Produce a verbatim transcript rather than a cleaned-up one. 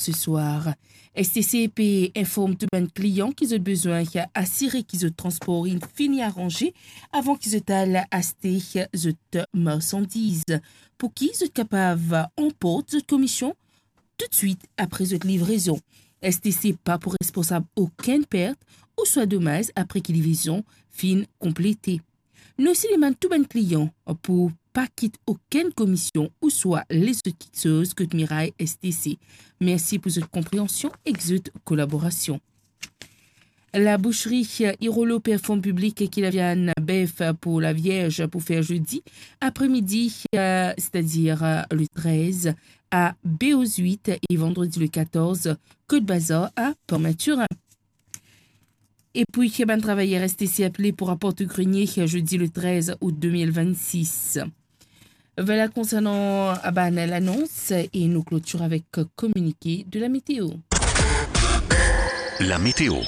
ce soir. S T C pe inform tou bann klian ki zot bizin asire ki zot transpor inn fini aranze avan ki zot al aste zot marsandiz, pou ki zot kapav anport zot komision toutswit apre zot livrezon. S T C pa pou responsab okenn pert ouswa domaz apre ki livrezon finn konplete. Nou osi demann tou bann klian pou pa kit okenn komision ouswa lezot kiksoz kot miray S T C. Mersi pou zot konpreansion ek zot kolaborasion. Laboushri Irolo pe inform piblik ki laviann bef pou Lavierz pou fer zodi apremidi, eh, setadir, eh, le trez, a Beau-Huit e vandredi le katorz, kot bazar a Port Mathurin. Epi, bann travayer S T C apele pou raport o grenie zodi le trez out de mil vennsis. Voila konsernan bann lanons e nou klotir avek kominike de la meteo. La météo.